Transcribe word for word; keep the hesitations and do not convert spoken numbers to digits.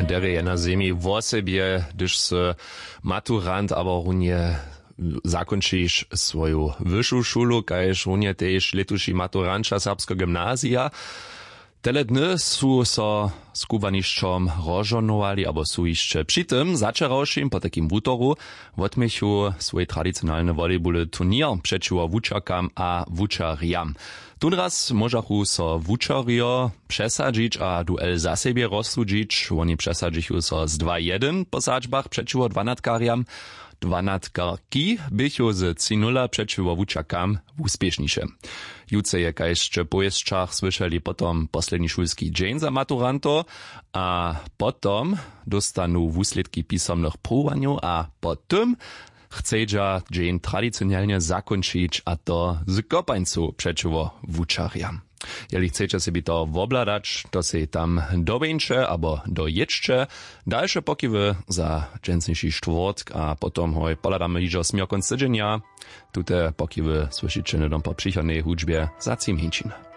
Derje je na zemi wosebje, hdyž sy maturant abo runje zakónčiš swoju wyšu šulu, kaž runje tež lětuši maturanća serbskeho gymnazija. Tele dny su so z kubłanišćom rozžohnowali abo su hišće při tym. Začerawšim po takim wutoru wotměchu swój tradicionalny volejbuly turněr přećiwo wučerkam a wučerjam. Tónraz móžachu so wučerjo přesadźić a duel za sebje rozsudźić. Woni přesadźichu so z dwa jedyn po sadźbach přećiwo dwanatkarjam. Dwanatkarki běchu z tři nula přećiwo wučerkam wuspěšniše. Jutře je, kaž sće w powěsćach słyšeli, potom posledni šulski dźeń za maturantow a potom dóstanu wuslědki pisomnych pruwowanjow a po tym chcedźa dźeń tradicionelnje zakónčić, a to z kopańcu přećiwo wučerjam. Jeli chceće sebi to wobhladać, to sej tam dobjeńće abo dojědźće. Dalše pokiwy za dźensniši štwórtk a potom hoj pohladamy hižo směr kónc tydźenja. Tute pokiwy słyšiće hnydom po přichodnej hudźbje za tři mjeńšiny.